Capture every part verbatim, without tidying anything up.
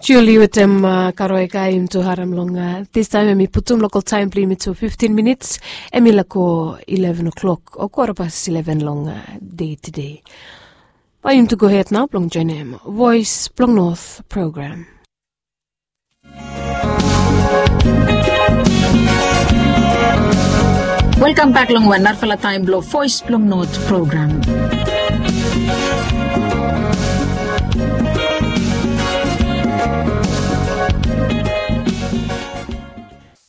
Juli wetem Karoika, yumi tu harem long distaem, em i putum lokal taem blong yumi tu fiftin minits, em i laik go ileven o'clock o kwara pas ileven long dei tede. Bae yumi tu gohed nao blong joenem Voes blong Not program. Welkam bek long wan narafala taem blong Voes blong Not program.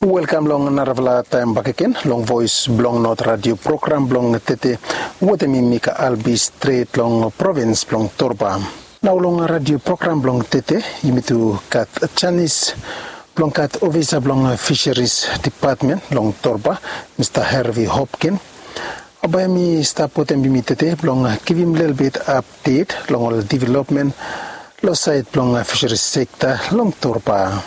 Welkam long narafala taem bakegen long Voes blong Not radio program blong tede, wetem mi Mika Albi, stret long provins blong Torba. Nao long radio program blong tede yumi tu gat janis blong gat ofisa blong Fisheries Depatmen long Torba, Mista Hervey Hopkin. Bae hem i stap wetem yumi tede blong givim lelebet apdet long ol developmen long saed blong Fisheries sekta long Torba.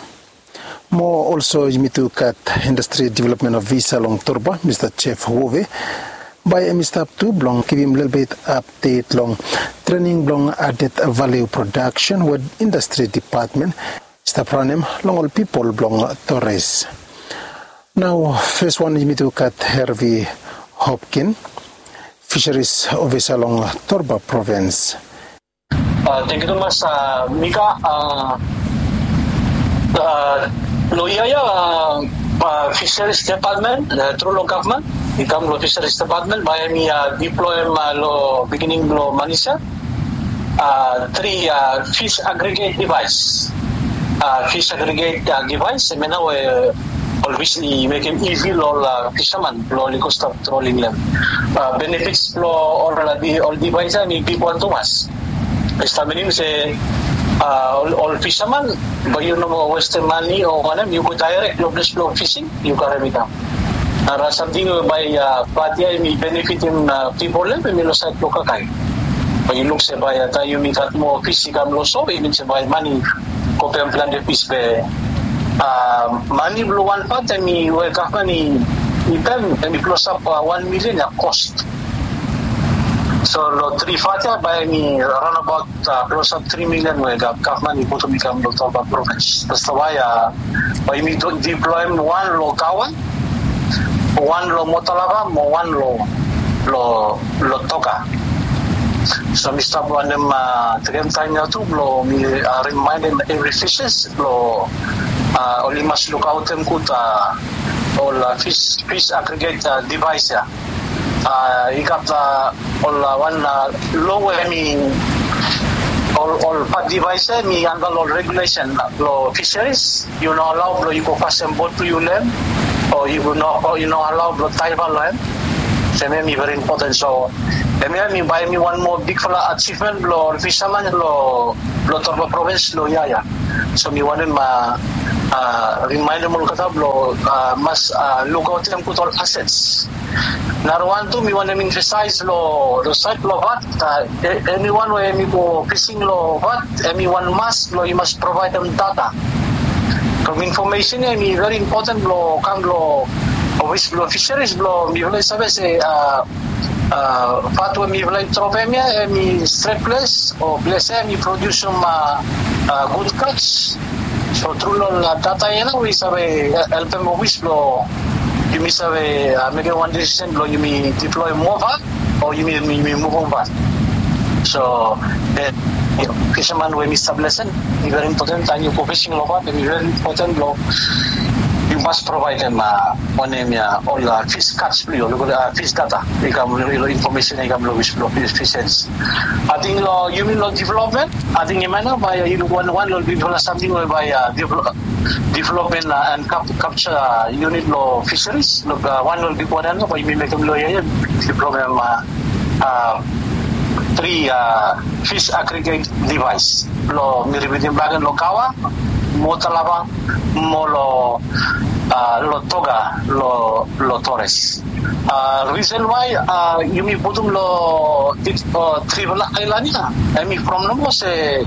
Mo olso yumi tu gat Indastri Developmen Ofisa long Torba, Mista Jeff Wove. Bae hem i stap tu blong givim lelebet apdet long trening blong aded valiu prodaksen we Indastri Depatmen i stap ranem long ol pipol blong Torres. Nao fes wan yumi tu gat Hervey Hopkin, Fisheries Ofisa long Torba provins. Tangkiu tumas Mika. Long yia ya, Fisheries Depatmen tru long gavman i kam long Fisheries Depatmen bae hem i diploem long beginning blong manis ya tri fish aggregate device. Fish aggregate device hemia nao we ol fis i mekem izi long ol fisaman blong oli go stap trolling long hem. Benefits blong ol device ya hem i bigwan tumas. Dispela minim se ol fisaman, bae yu no moa westem mane o wanem, yu go daerek long ples blong fising, yu karem i kam. Nara samting we bae pat ya hem i benefitim pipol ya hem i long saed blong kakae. Bae yu luk se bae taem yumi gat moa fis i kam long so, i min se bae mane go pem plante fis be mane blong wan pat hem i we gavman i pem hem i klosap wan milian ya kos. So long tri fat ya bae hem i raonabaot klosap tri milian we gavman i putum i kam long Torba provins. Dispela wae bae yumi diploem wan long Kawa, wan long Motalava mo wan long Toka. So mi stap wantem tekem taem ya tu blong mi rimaenem evri fishes blong oli mas lukaotem gud ol fis aggregate device ya. I gat ol wan lo we hem i ol pat device ya hem i anda long ol regulesen blong fisheries. Yu no alao blong yu go fasim bot blong yu long hem, o yu no alao blong daiva long hem. So hemia hem i veri impoten. So hemia hem i bae hem i wan moa bigfala ajivmen blong ol fisaman long Torba provins long yia ya. So mi wantem rimaenem olgeta blong mas lukaotem gud ol asets. Nara wan tu mi wantem emfasaes long saed blong vat. Eniwan we hem i go fising long vat hem i wan mas blong yu mas provaedem data. From infomesen ya hem i veri impoten blong kam long ofis blong fiseris blong mifala i save se vat we mifala i dropem ya hem i stret ples o ples ya hem i prodiusim gud kats. So tru long ol data ya nao we i save helpem ofis blong yumi save mekem wan desisen blong yumi diploem moa vat o yumi muvum vat. So fisaman we mi stap lesen, i veri impoten taem yu go fising long vat, i veri impoten blong yu mas provaedem wanem ya ol fis kats blong yu, fis data i kam long infomesen i kam long ofis blong fiseris. Ating long yumi long developmen, ating hemia nao bae yu luk wan long bigfala samting we bae developmen and kapsa yunit long fiseris. Wan long bigwan ya nao bae yumi mekem long yia ya, developmen tri fis agriget devaes. Long mi ripitim bakegen long Kawa, Motalava mo long Toga long Torres. Risen wae yumi putum long trifala aelan ya, hemi from nomo se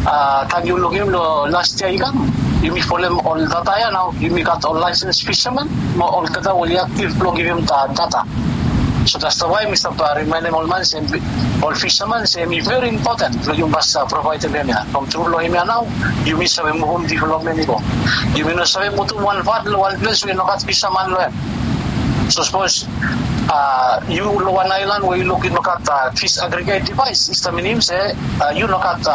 taem yu lukim long las yia i kam, yumi folem ol data ya nao yumi gat ol laesens fisaman mo olgeta we oli aktiv blong givim data. So dats wae mi stap rimaenem ol man se ol fisaman se em i veri impoten blong yu mas provaedem em ya. From tru long em ya nao yumi save muvum developmen i go. Yumi no save putum wan vat long wan ples we i no gat fisaman long em. So sapos yu long wan aelan we yu luk i no gat fis agreget devaes, i stap minim se yu no gat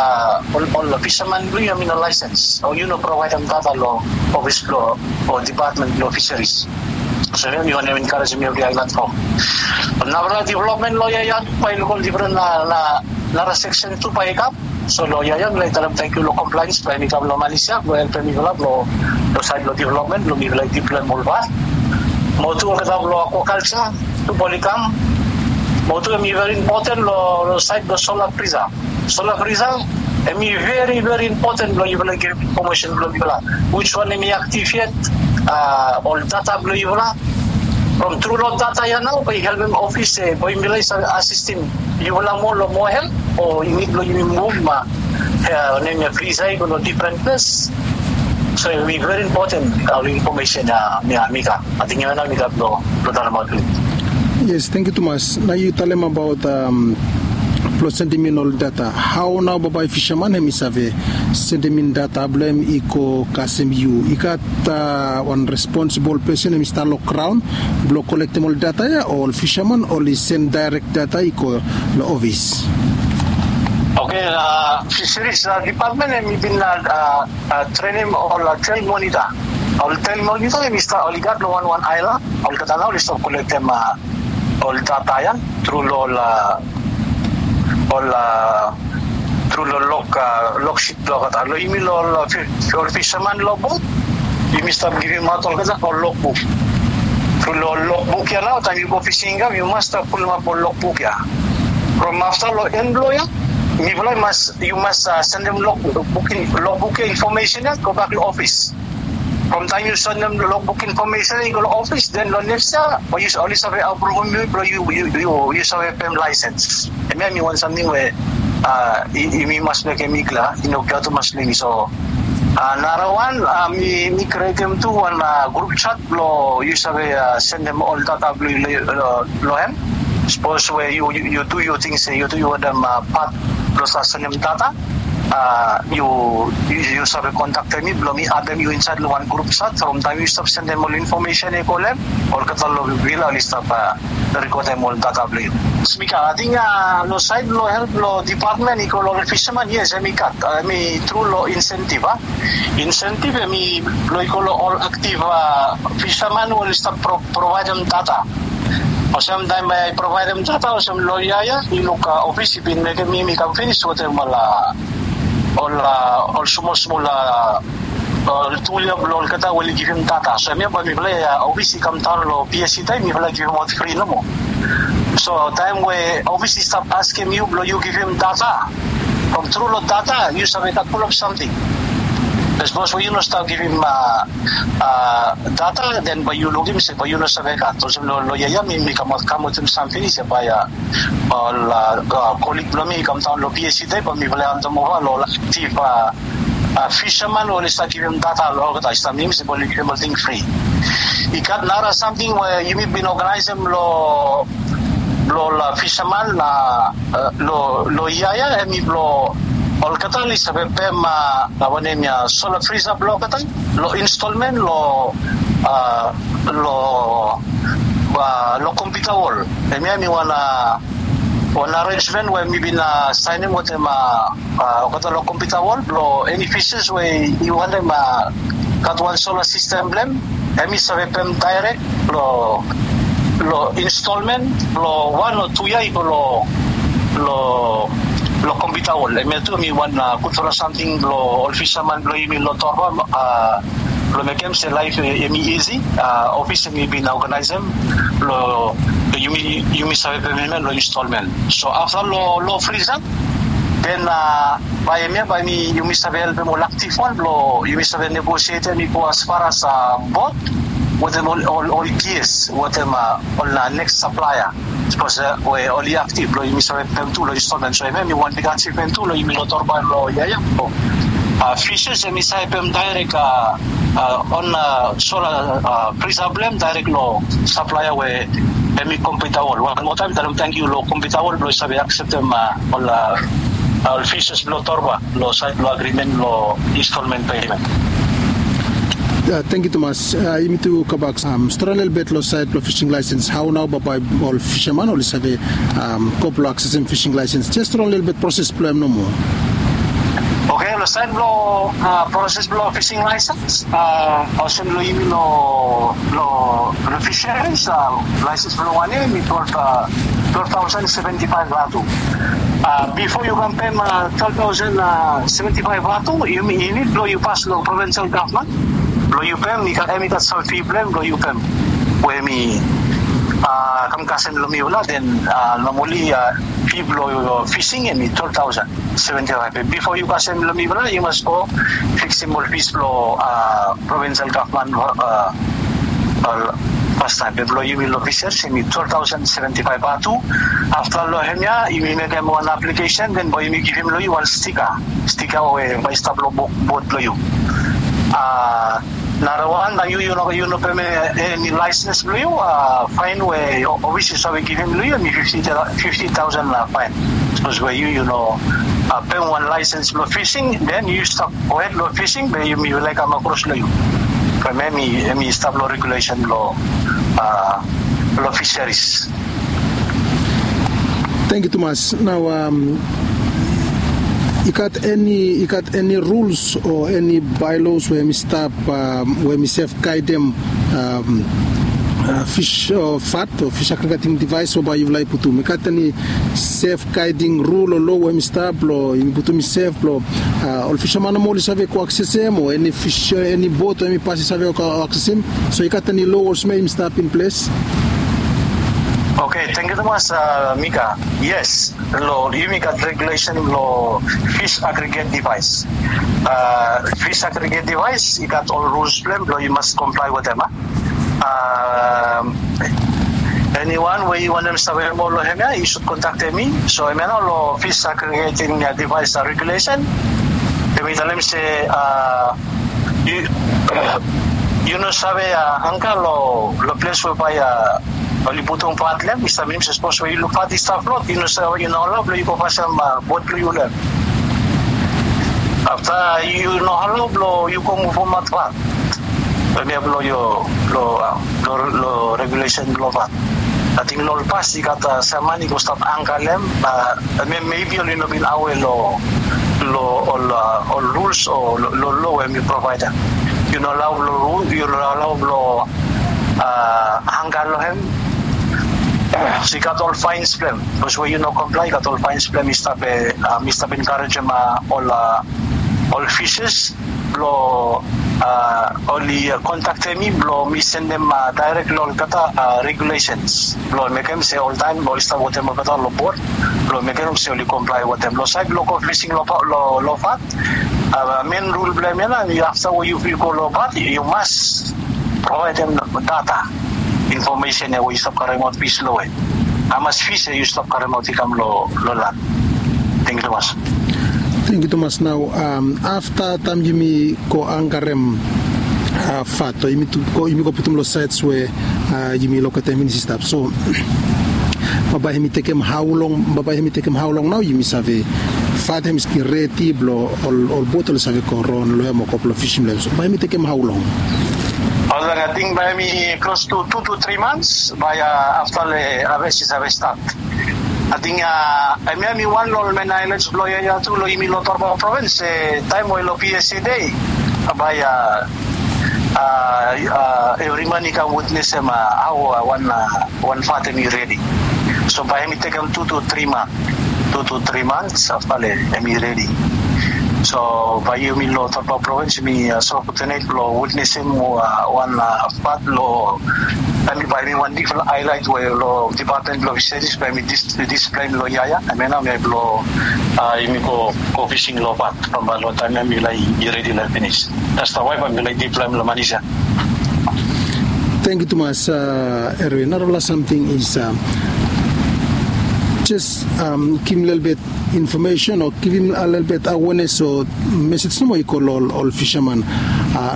ol fisaman blong yu em i no laesens o yu no provaedem data long ofis blong o depatmen blong fiseris. So em i wanem enkarejem evri aelan fom. Nara developmen long ya ya bae i luk ol difren nara seksen tu bae i kam. So long ya ya mi laik talem tangkiu long komplaens bae mi kam long Malaysia blong helpem mifala blong saed blong developmen blong mifala i diploem ol vat. Mo tu olgeta blong akwakalsa tu bae oli kam. Mo tu em i veri impoten long saed blong sola frisa. Sola frisa em i veri veri impoten blong yufala givim infomesen blong yufala, wis wan em i aktiv yet, ol data blong yufala. From tru long data ya nao bae i helpem ofis se bae mifala i save asistem yufala moa long moa help o i nid blong yumi muvum ma nem ya frisa i go long difren ples. So em i veri impoten ol infomesen ya mi gat. Ating em ya nao mi gat blong talemaot. Yes, tangkiu tumas. Nao yu talem abaot blong sendemin ol data. Hao nao bambae fisaman em i save sendemin data blong em i go kasem yu? I gat wan responsibol pesen em i stap long graon blong kolektem ol data ya o ol fisaman oli sendem daerek data i go long ofis? Oke, fiseris depatmen em i bin trenem ol tel monita. Ol tel monita em i stap oli gat long wanwan aelan. Olgeta nao oli stap kolektem ol data ya tru long ol ol tru long lok loksit blong olgeta long yumi long ol fisaman long bot. Yumi stap givimaot olgeta ol lokbuk. Tru long ol lokbuk ya nao taem yu go fising i kam yu mas stap pulumap ol lokbuk ya. From afta long en blong ya mifala i mas yu mas sendem lokbuk ya infomesen ya gobak long ofis. From taem yu sendem lokbuk infomesen ya i go long ofis den long neks ya bae yu oli save apruvum yu blong yu save pem laesens. Em ya em i wan samting we yumi mas mekem i klia i no klia tumas long yumi. So narawan mi krietem tu wan grup chat blong yu save sendem ol data blong yu long hem. Sapos we yu tu yu ting se yu tu yu wantem pat blong stap sendem data, yu save kontaktem mi blong mi adem yu insaed long wan grup chat from taem yu stap sendem ol infomesen ya i go long hem. Olgeta long vila oli stap rekodem ol data blong yu. Spika, ating long saed long help long depatmen i go long ol fisaman, yes, em i gat, em i tru long insentiv a insentiv em i blong i go long ol aktiv fisaman we oli stap provaedem data. Olsem taem bae i provaedem data olsem long ya ya i luk ofis i bin mekem mi mi kam finis wetem ol ol smol smol ol tul ya blong olgeta we oli givim data. So em ya bae mifala ya ofis i kamdaon long psc taem mifala givimaot fri nomo. So taem we ofis i stap askem yu blong yu givim data, from tru long data yu save gat pulap samting. Sapos we yu no stap givim data den bae yu lukim se bae yu no save gat. Olsem long ya ya mi mi kamaot kam wetem sam finis ya bae ol kolig blong mi i kamdaon long psc taem bae mifala i andemova long ol aktiv fisaman we oli stap givim data long olgeta i stap minim se bae oli givim olting fri. I gat nara samting we yumi bin oganaesem long blong ol fisaman na long ya ya em i blong olgeta oli save pem wanem ya sola frisa blong olgeta long instolmen long long kompiuta wol. Em ya em i wan wan arensmen we mi bin saenem wetem olgeta long kompiuta wol blong eni fises we i wantem gat wan sola sistem blong hem, em i save pem daerek long long instolmen long wan o tu yia i go long long kompiuta wol. Em ya tu em i wan gudfala samting blong ol fisaman blong yumi long Torba blong mekem se laef em i isi. Ofis em i bin oganaesem blong yumi yumi save pem hem ya long instolmen. So afta long lo frisa den bae em ya bae mi yumi save helpem ol aktif wan blong yumi save negosietem i go asfar as bot wetem ol ol gias wetem ol neks saplaea. Sapos we oli aktif blong yumi save pem tu long instolmen. So em ya em i wan big ajivmen tu long yumi long Torba long yia ya. Fises em i save pem daerek on sola frisa blong hem daerek long saplaea we Em i kompita wol wan moa taem talem tangkiu long kompita wol blong i save akseptem ol ol fises blong torba long saed blong agrimen long instalmen peimen. Tangkiu tumas. Yumi tu kabak strong lelebet long saed blong fising laesens hau nao bae ol fisaman oli save go blong aksesem fising laesens jes strong lelebet proses blong em nomo. Oke, long saed blong proses blong fising laesens, olsem long yumi long long fisaris, laesens blong wan yia em i twelve thousand seventy five vatu. Bifo yu kam pem twelve thousand seventy five vatu, yu nid blong yu pas long provinsal gavman blong yu pem. Em i gat sam fi blong em blong yu pem we em i kam kasem long mifala. Den nomali fi blong fising em i twelve thousand seventy five. Bifo yu kasem long mifala yu mas go fiksim ol fis blong provinsal gavman. Fastaem blong yumi long fisers em i twelve thousand seventy five vatu. Afta long hemia yumi mekem wan aplikesen den bae yumi givim long yu wan stika, stika we bae i stap long bot blong yu. Nara wan, na yu yu no pem eni laesens blong yu, faen we ofis i save givim long yu em i fifti taosen faen. Sapos we yu yu no pem wan laesens blong fising, den yu stap gohed long fising be yumi laik kam akros long yu. From em i stap long regulesen long long fisaris. Tangkiu tumas. Nao i gat eni i gat eni ruls o eni baelos we em i stap we em i sef gaedem fis o fat o fis agregating divaes we bae yufala i putum? I gat eni sef gaeding rul o lo we em i stap blong yumi putum i sef blong ol fisaman nomo oli save go aksesem o eni fis eni bot we em i pas i save go aksesem? So i gat eni lo olsem ya i stap in ples? Oke, tangkiu tumas. Mika, yes, long yumi gat regulesen long fis agreget divaes. Fis agreget divaes i gat ol ruls blong em blong yu mas komplae wetem. Eniwan we yu wantem save moa long hemia yu sud kontaktem mi. So hemia nao long fis agregeting divaes regulesen, em i talem se yu no save angka long ples we bae oli putum fat long em. I stap minim se sapos we yu luk fat i stap flot, yu no save, yu no alao blong yu go pasem bot blong yu long em. Afta yu no alao blong yu go muvumat fat. Hemia blong yu long regulesen blong fat. Ating long ol pas i gat sam man i go stap angka long em. Hemia mebi oli no bin awe long long ol ruls o long lo we mi provaedem. Yu no alao blong yu no alao blong angka long em. So i gat ol faens blong em. Bikos we yu no komplae i gat ol faens blong em. Mi stap enkarejem ol ol fises blong oli kontaktem mi blong mi sendem daerek long olgeta regulesens blong mekem se oltaem oli stap wetem olgeta long bot blong mekem se oli komplae wetem. Long saed blong go fising long fat, men rul blong em ya nao, afta we yu go long fat yu mas provaedem data, infomesen ya we yu stap karemaot fis long we hamas fis ya yu stap karemaot i kam long lan. Tangkiu tumas. Tangkiu tumas. Nao afta taem yumi go angkarem fat o yumi go putum long saets we yumi loketem finis i stap, so bambae hem i tekem hao long bambae hem i tekem hao long nao yumi save fat hem i redi blong ol bot oli save go ron long hem o go blong fisim long hem? So bambae hem i tekem hao long? Olsem ating bambae hem i klos tu tu tu tri mans bambae afta long haves i save stat. Ating hemia hem i wan long ol men aelens blong yia ya tu long yumi long torba provens se taem we long psa dei bambae evri man i kam witnesem hao wan fat hem i redi. So bambae hem i tekem tu tu tri mans tu tu tri mans afta long hem i redi. So bambae yumi long torba provens yumi save kotenet blong witnesem wan fat long hem i bambae hem i wan difren aelaet we long dipatmen blong fiseris bambae hem i displem long yia ya. Hemia nao hem i blong yumi go fising long fat bambae long taem hem i laik i redi long hem finis. Dasta wae bambae hem i laik displem long manis ya. Tangkiu tumas. Erwin, narafala samting is jes givim lelebet infomesen o givim lelebet awenes o mesej nomo i go long ol fisaman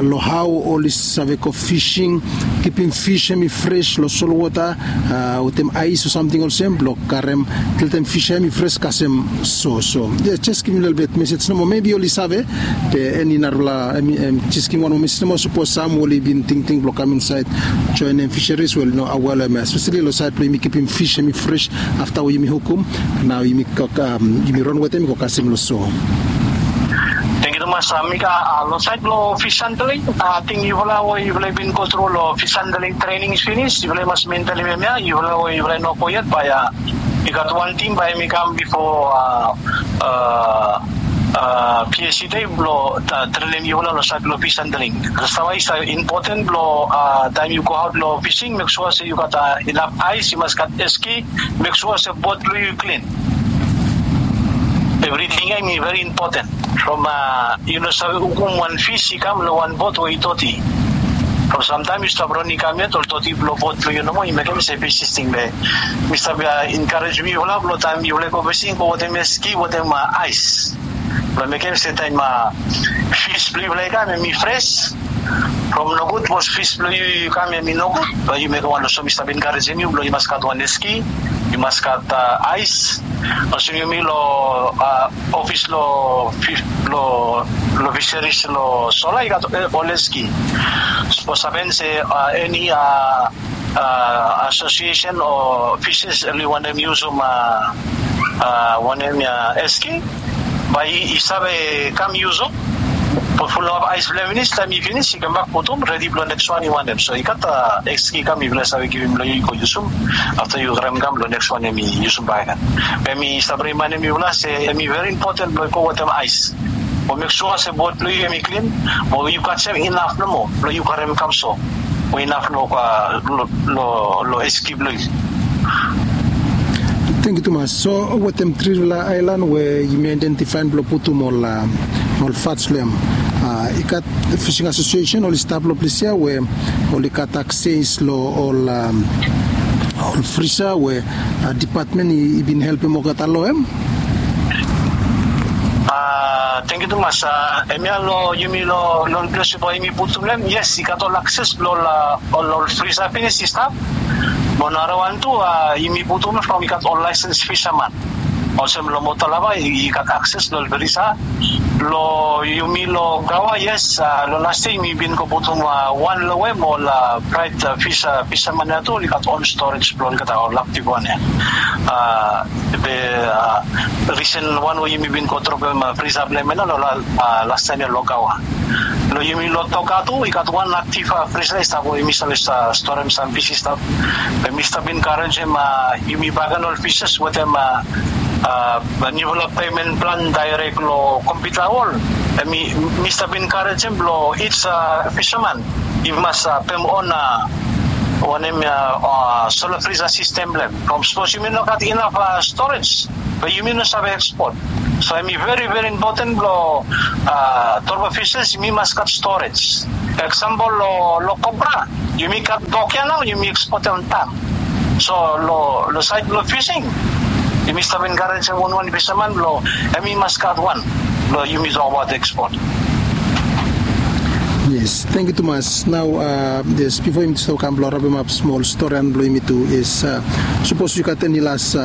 long hao oli save go fising kipim fis hemi fres long solwota wetem ais o samting olsem blong karem, til taem fis hemi fres kasem. So so jes givim lelebet mesej nomo mebi oli save. Be eni narafala jes givim wan moa mesej nomo sapos sam oli bin tingting blong kam insaed joenem fiseris wel no awelem espesali long saed blong yumi kipim fis hemi fres afta we yumi hukum. Nao yumi ran wetem i go kasem long so. Tengkiu tumas. Mika, long saed blong fis handling, ating yufala we yufala i bin go tru long fis handling trening finis, yufala i mas mentelim em ya. Yufala we yufala i no go yet bae i gat wan tim bae em i kam bifo pieside blong trenim yufala long saed blong fis handling. Save i save impoten blong taem yu go aot long fising mek sua se yu gat inap ais, yu mas gat eski, mek sua se bot blong yu i klin. Evriting ya i mi veri impoten from yu no save hukum wan fis i kam long wan bot we i doti. From samtaem yu stap ron i kam yet ol doti blong bot blong yu nomo i mekem se fis i sting be mi stap enkarejem yufala blong taem yufala i go fising go wetem eski wetem ais blong mekem se taem fis blong yufala i kam em i fres. From nogud bos fis blong yu i kam em i nogud. Bae yu mekem wan olsem mi stap enkarejem yu blong yu mas gat wan eski, yu mas gat ais. Olsem yumi long ofis long fiseris long sola i gat ol eski. Sapos hapen se eni asosiesen o fises oli wantem yusum wanem ya eski, bae i save kam yusum. Bot fulap ais blong hem finis taem i finis i kambak putum redi blong neks wan i wantem so i gat eski kam i blong save givim blong yu i go yusum. Afta yu karem kam long neks wan em i yusum bae. Be mi stap rimaenem yufala se em i veri impoten blong i go wetem ais. Mo mek sua se bot blong yu em i klin mo yu kasem inaf nomo blong yu karem kam so. Mo inaf nomo long eski blong yu. Tengkiu tumas. So wetem trifala aelan we yumi aedentifaem blong putum ol ol fats long hem, i gat fising asosiesen oli stap long ples ya we oli gat akses long ol ol frisa we dipatmen i bin helpem olgeta long hem. Tengkiu tumas. Em ya long yumi long ples we bae yumi putum long hem yes i gat ol akses blong ol ol frisa finis i stap. Mo narawan tu yumi putum from i gat ol laesens fisaman olsem long motalava i gat akses long ol frisa. Long yumi long gawa yes long las yia yumi bin go putum wan long hem ol praet fisaman ya tu oli gat on storej blong olgeta ol aktiv wan ya. Be risen wan we yumi bin go dropem frisa blong hem ya long lastaem ya long gawa. Long yumi long toka tu i gat wan aktiv frisa i stap we yumi save storem sam fis i stap. Be mi stap enkarejem yumi baken ol fises wetem niufala pemen plan daerek long kompiuta wol. Mi stap enkarejem blong ij fisaman i mas pem on wanem ya sola frisa sistem blong hem from sapos yumi no gat inaf storej be yumi no save ekspot. So em i veri veri impoten blong torba fises yumi mas gat storej. Eksampol long kopra yumi gat dok ya nao yumi ekspot ya on taem. So long saed blong fising yumi stap enkarejem wanwan fisaman blong em i mas gat wan blong yumi tokbaot ekspot. Yes, tengkiu tumas. Nao yes bifo yumi stap kam blong rapemap smol storian blong yumi tu yes, sapos yu gat eni las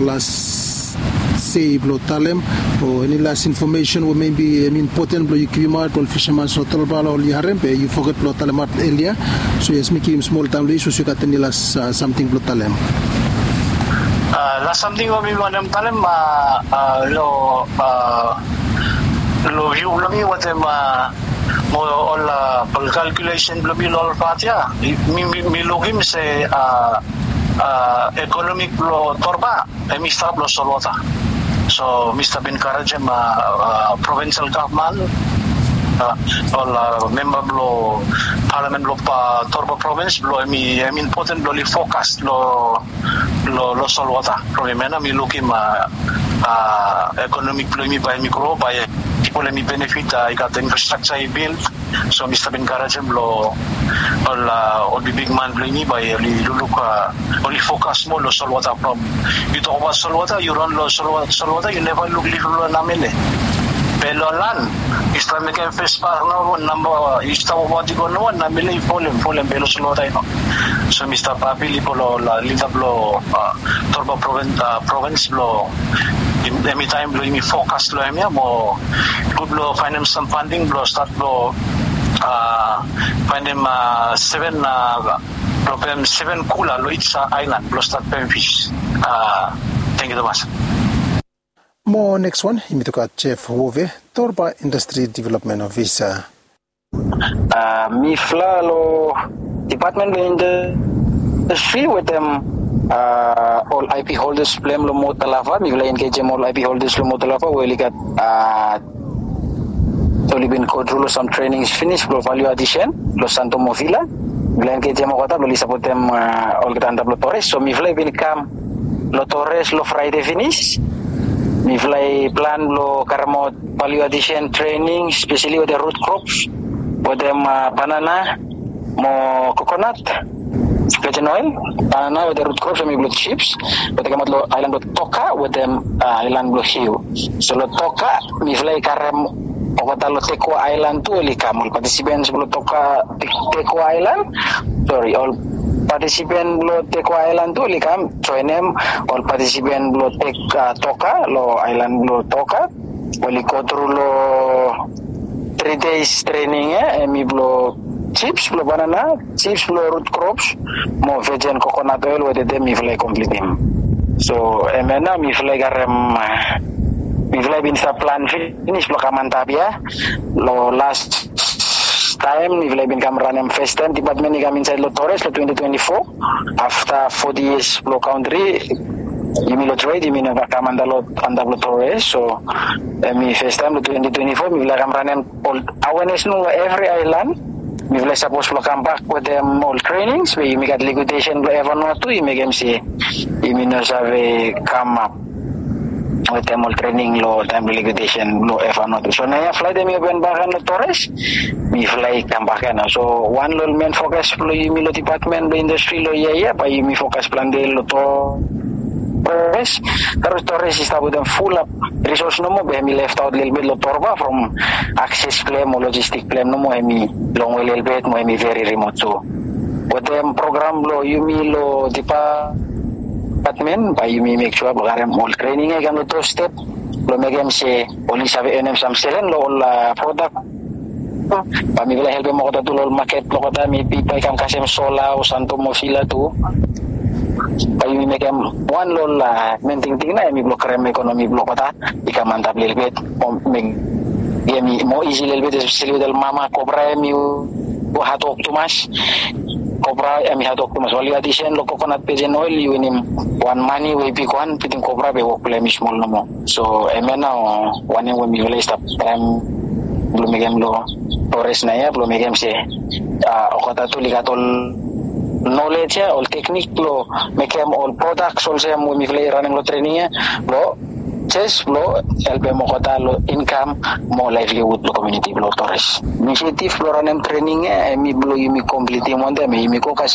las sei blong talem o eni las infomesen we mebi em impoten blong yu givimaot ol fisaman so tolpala oli harem be yu foget blong talemaot elia. So yes mi givim smol taem long yu sapos yu gat eni las samting blong talem. Las samting we mi wantem talem long long view blong mi wetem mo ol kalkulesen blong mi long ol pat ya mi lukim se ekonomik blong torba em i stap long solwota. So mi stap enkarejem provinsel gavman ol memba blong palamen blong torba provins blong em i impoten blong oli fokas long long solwota. From em ya nao mi lukim ekonomik blong yumi bae yumi gro bae pipol em i benefit i gat infrastraksa i bil. So mi stap enkarejem long ol ol bigbigman blong yumi bae oli lukluk oli fokas moa long solwota from yu tokbaot solwota yu ran long solwota yu neva luk liflif long namele. Be long lan stap mekem fes pas nomo namba i stap wati go nomo na mele i folem folem be lo solo taino. So mi stap apili bolo la lida blo torba provins blo emi taim blo imi fokas lo em ya mo gud blo fainim sam fanding blo stat blo fainim seven problem seven kula lo itsa ailan blo stat pem fis. Thank you Thomas. Mo neks wan yumi toka Jeff Wove, torba indastri development ofisa. Mifla lo dipatment blo indastri wetem ol ip holdes blem lo motalava mifla engejem ol ip holdes lo motalava we oli gat oli bin go tru lo sam trenings finis blo valu adisen lo santo movila. Mifla engejem olgeta blo oli sapotem olgeta antap lo tores so mifla i bin kam lo tores lo fraide finis. Mifla i plan blo karemaot valu adisen trening speseli wetem rut krops wetem banana mo kokonat, vejen oil, banana wetem rut krops em i blo chips. Wetem kamaot lo ailan blo toka wetem ailan blo hiu. So lo toka mifla i karem olgeta lo tekua ailan tu oli kam ol patisipens blo toka tekua ailan. Sori ol patisipen blo tekua ailan tu oli kam joenem ol patisipen blo tek toka lo ailan blo toka. Oli go tru lo tri des trening ya em i blo chips blo banana, chips blo rut krops mo vejen kokonat oil wetem de mifla i komplitim. So em ya nao mifla i karem mifla i bin stap plan finis blo kam antap ya. Lo las taim mifla i bin kam ranem fes taim dipatmen i kam insaed lo tores lo twenti twenti fo. Afta foti yias blo kauntri yumi lo tred yumi neva kam antap lo tores so em i fes taim lo twenti twenti fo mifla kam ranem ol awenes nomo evri ailan. Mifla i sapos blo kambak wetem ol trenings we yumi gat likuidesen blo evanot tu i mekem se yumi no save kamap wetem ol trening lo taim blo likuidesen blo evanot tu so naoia flaet em i open bak ya lo tores. Mifla i kambak ya nao so wan lo ol men fokas blo yumi lo dipatmen blo indastri lo yia ya bae yumi fokas plante lo tores. Tores tores i stap wetem fulap risos nomo be em i leftaot lelebet lo torba from akses blem o lojistik blem nomo em i longwe lelebet mo em i veri rimot tu. Wetem program blo yumi lo dipatmen bae yumi mek sua blo karem ol trening ya i kam lo tostep blo mekem se oli save enem sam selen lo ol prodak. Bae mifala i helpem olgeta tu long ol maket blong olgeta mebi bae i kam kasem sola o santom o fila tu. Bae yumi mekem wan long ol men tingting nao hemi blong karem ekonomi blong olgeta i kam antap lelebet. Mo mekem hemi moa isi lelebet espeseli wetem ol mama. Kopra hemi hadwok tumas. Kopra hemi hadwok tumas. Oli adisen long kokonat pejen oel i winim wan mane we i bigwan bitim kopra be wok blong hemi smol nomo. So hemia nao wanem we mifala i stap traem blong mekem long tores naoia blong mekem se olgeta tu oli gat ol nolej ia ol teknik blong mekem ol prodaks olsem we mifala i ranem long trening ia blong jes blong helpem olgeta long inkam mo laevliwud blong komiuniti blong tores. Inisiativ blong ranem trening ia hemi blong yumi komplitim wantaem yumi go kasem